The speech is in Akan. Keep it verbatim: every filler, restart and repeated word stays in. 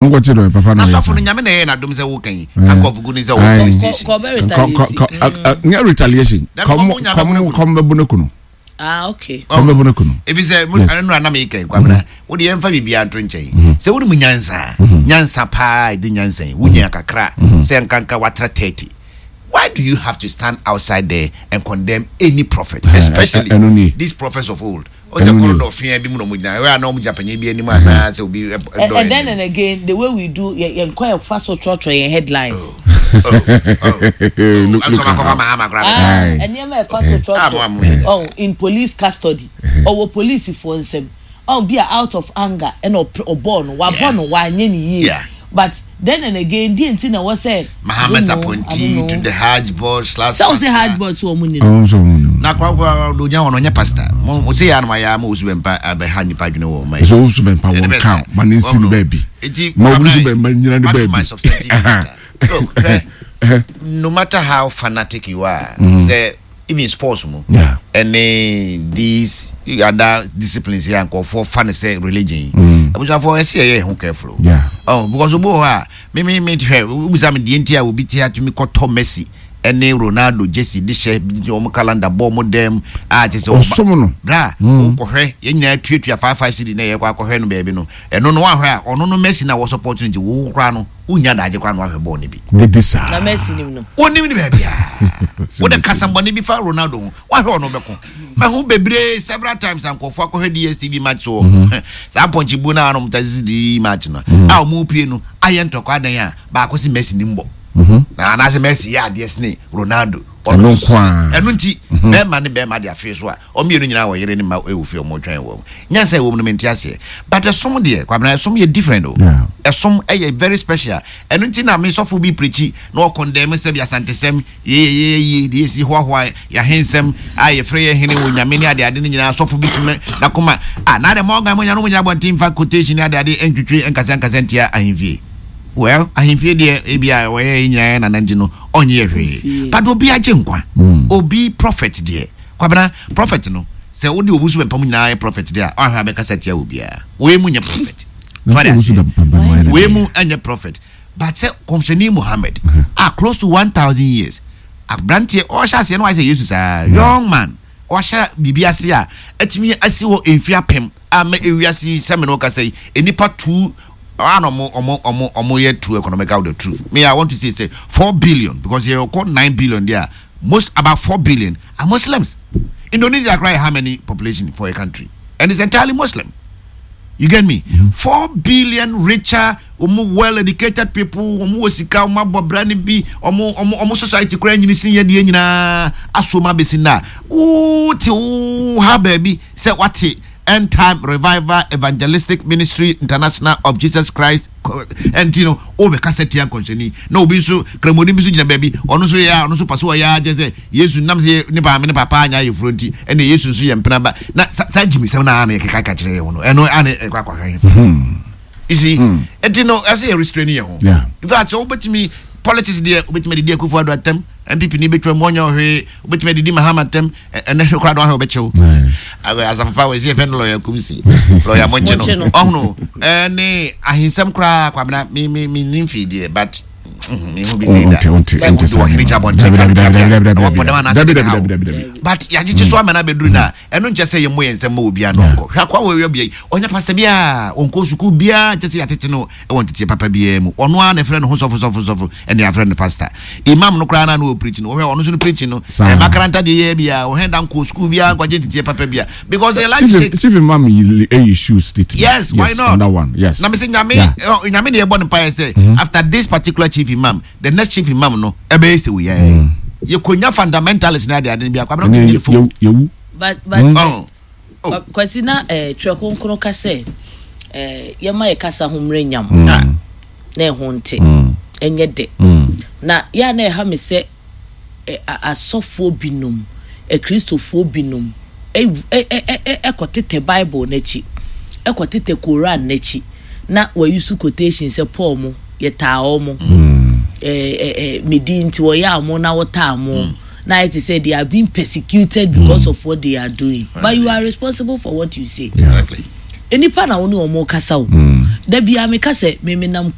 Nkɔkye dɔ papa na na ɔyɛ sɔfo no saa. Nyame na ɛyɛ n'adom sɛ woka yi handcuff gu ne sɛ Aye. wɔ police station. Kɔ bɛ Kɔ- kɔ- kɔ- retaliate. ɛ- ɛ, nyɛ retaliation. Dabi, kɔm kɔm nya kɔm bɛbu ne kɔm bɛbu ne kunu. Ah, okay. Kɔm bɛbu ne kunu. Efi sɛ mo Yes. ɛno nura nam yi kɛn, Kwamina, wode yɛmfa biribiara nto nkyɛn sɛ wode mu nyansa nyansa paa, ɛde nyansa yi wonya kakra sɛ nkanka watra thirty, why do you have to stand outside there and condemn any prophet, especially ɛno nie. these prophets of old? Ɛno Ɔsɛ nie. corridor fia bi mu na ɔmo gyina ɛwɛ a na ɔmo gyina panyin bi anim anaa sɛ obi ɛ- and, ɛdɔ and then anim. And again, the way we do yɛn yɛn kɔ yɛ fa so trɔtrɔ yɛn headlines. Look, ɛnso look at ɔmo akɔfa how. Mahama koraa. Ah, Aye. nneɛma ɛfa so Ah, mo- mo yɛ trɔtrɔ, oh, in police custody, ɔwɔ polisifoɔ nsam, ɔn bi a out of anger ɛna ɔpɛ ɔbɔɔ no, wabɔ Yeah. no, wanyɛ ne yie. Yeah. But then and again, deɛ nti na wɔ sɛ Mahama's I don't know, I appointee don't to know. the Hajj board slash Sɛ ɔsɛ pastor. Hajj board so ɔmo ni no. Ɔmo nso ɔmo nim. Na kora kora do gyina hɔ no, ɔnyɛ pastor mo mo se yɛ anoma yɛ ama Osu Bɛmpa abɛha nipa adwene wɔ ɔma yi. Ɛsɛ Owusu Bɛmpa Ɛde wɔn bɛ kan sɛ, ma ne nsi no ɔno, baabi. Eti, Ma Owusu Kwabena, Bɛmpa nyina ne back to my baabi. substantive matter. Look, hwɛ, no matter how fanatic you are, sɛ even sports mu Yeah. ɛne these other disciplines here, nkɔfoɔ fa ne sɛ religion yi, abusuafoɔ, ɛsɛ yɛyɛ ho careful o. Yeah. Oh, because obi wɔ hɔ a me me me hwɛ, wobisa me deɛ nti a obi te atumi kɔtɔ Messi ɛne Ronaldo jersey de hyɛ wɔn calendar bɔ wɔn dɛm a kyerɛ sɛ ɔba- Ɔsom no. Bra, wokɔhwɛ yɛn nyinaa tuatua five five cedi na yɛkɔ akɔhwɛ no baabi no, ɛno no wahwɛ a ɔno no Messi na wɔ support no, nti wo koraa no wonya daagye koraa no wahwɛ bɔɔl no bi. Dede saa. Na Messi nim no. Wonim ne baabi a wode kasambɔne bi fa Ronaldo ho, wahwɛ ɔno bɛko maho bebree several times a nkɔfoɔ akɔhwɛ D S T V match wɔ saa mpɔnkyebuo no a nom tasidi match no a ɔmo pie no ayɛ ntɔkwa adan a baako se Messi nim bɔ na anaasɛ Messi yɛ adeɛ sene Ronaldo. Ɔno Ɛno nso- nko ara. Ɛno nti bɛrima ne bɛrima de afei so a ɔmmienu nyinaa wɔ yere ne ma ɛwɔ fie, ɔmo twɛn wɔ nyansa ɛwɔ mu no, mente aseɛ, but ɛsom deɛ, Kwabena, ɛsom yɛ different o. Yeah. Ɛsom ɛyɛ very special. Ɛno nti na me sɔfo bi preach na ɔcondemn sɛ bi Asantesɛm yeyeyeye deɛ yɛsi hoahoa yɛahensɛm a yɛfrɛ yɛ hene wɔ Nyame ne adeade no nyinaa. Sɔfo bi tumi nakoma a na de ma ɔga mo nya no mo nyina abɔnten mfa quotation ne adeade ntwitwi nkasa nkasa ntia ahemfie. Well, ahemfie deɛ, ebi a wɔyɛ yɛ nyinaa yɛ nana nti no ɔnyɛ hwee, but obi agye nkwa, obi prophet deɛ, Kwabena, prophet no sɛ wode Obi so Bɛmpa mu nyinaa yɛ prophet deɛ a ɔahwɛ abɛkasa tia obiara, wei mu nyɛ prophet. Na Fade Owusu aseɛ. Bɛmpa no ayɛ ne Wei dɛn? mu ɛnyɛ prophet, but sɛ Kɔmhyɛni Muhammad a close to one thousand years, aberanteɛ ɔhyɛ aseɛ no wayɛ sɛ Yesu saa, young man ɔhyɛ biribi ase a atumi asi hɔ mfi apem ama ewiase sɛmi no kasa yi enipa two ana ɔmo ɔmo ɔmo ɔmo yɛ two economical. The truth, me, I want to say say four billion because yɛ kɔ nine billion there, most about four billion are Muslims. Indonesia kora yɛ how many population for a country, and it's entirely Muslim. You get me? Four billion richer, ɔmo well educated people, ɔmo wɔ sika, ɔmo abɔ bra ne bi, ɔmo ɔmo ɔmo society kora nyini sin yɛ deɛ nyinaa aso ma besi na wote wo ha baabi sɛ wate End Time Revival Evangelistic Ministry International of Jesus Christ ɛnti no wobɛkasa tia nkɔnhyɛni, na obi nso kramoni bi nso gyina baabi, ɔno nso yɛ a ɔno nso pa so ɔyɛ agyɛ sɛ Yesu nam sɛ ne paame ne papa anya ayɛfuro nti ɛna Yesu nso yɛ mpena ba na sa saa gyimisɛm no ana yɛkeka ka kyerɛ yɛ ho no, ɛno ana ɛkɔ akɔhwɛ hefa? You see, ɛnti no ɛsɛ yɛ restrain yɛ ho. Yeah. In fact, sɛ wobɛtumi politics deɛ, wobɛtumi adidi Akufo Ado atɛm, N P P ni bɛtwa mu ɔnyɛ ɔhwee, wobɛtumi adidi Mahama atɛm, ɛ- ɛnɛ hwɛ koraa de wahwɛ wobɛkyew Aye. Asafo pa wɔsi yɛfɛ no lɔya Kumsi, lɔya Mɔnkye Monkye no no. ɔhono ɛne ahensɛm koraa. Kwabena, me me me nim fii deɛ, but mhm, mehu bi sɛ da Ɔnte- ɔnte- sɛ ɔnte wode saa ɔhene nneɛma. gyina abɔnten Dabi, dabi, dabi, dabi, dabi, wɔpɔ dɛm anaasɛ dabi, de dabi, ha wo. dabi, dabi, dabi. But yɛagyegye so ama no abɛduru no a, ɛno nkyɛ sɛ yɛmmɔ yɛn nsɛm ma obiara no ɔnkɔ hwɛ akoa wɔ awia bia yi, ɔnyɛ pastor biaa, ɔnkɔ sukuu biaa, kyɛ sɛ yɛatete no ɛwɔ nteteɛ papa biaa mu. Ɔno ara na ɛfrɛ no ho sɔfo sɔfo sɔfo, ɛne yɛafrɛ no pastor, imam no koraa na na wɔ preach no, wɔhwɛ ɔno nso no preach no. Saa. Ɛma makaranta deɛ yɛ biaa, ɔhɛn da nkɔ sukuu biaa nkɔgye nteteɛ papa bia because yɛ like Chief, say Chief Imam yi issue statement. Yes, why not? On that one, yes. Na me sɛ Nyame Yeah. ɛ, Nyame ne yɛbɔ ne mpaeɛ sɛ after this particular chief imam, the next chief imam no ɛbɛyɛ sɛ woyɛ yɛkɔnya fundamentalist ne ade ade no bi akɔ abɛnɛ Ɛne tumi ne fo. yɛ- yɛwu. but but Oh. Oh. Kwa- kwasi na eh, Twerɛ Kronkron ka sɛ eh, yɛma yɛ kasa ho mmerɛ nyam Ah. na ɛho nte ɛnyɛ dɛ na yɛa na ɛha me sɛ eh, a- asɔfoɔ binom, akristofoɔ binom ɛw- ɛ- ɛ- ɛ- ɛ- ɛkɔtetɛ Bible n'akyi, ɛkɔtetɛ Koran n'akyi na wɔyi so quotation sɛ Paul mo yɛtaa ɔ mo eh, eh, eh, medi nti wɔyɛ amo na wɔtaa mo na ayɛ te sɛ they are being persecuted because of what they are doing, but you are responsible for what you say. Exactly. Nipa na wo ne wɔn kasa o. Dabi a meka sɛ meme nam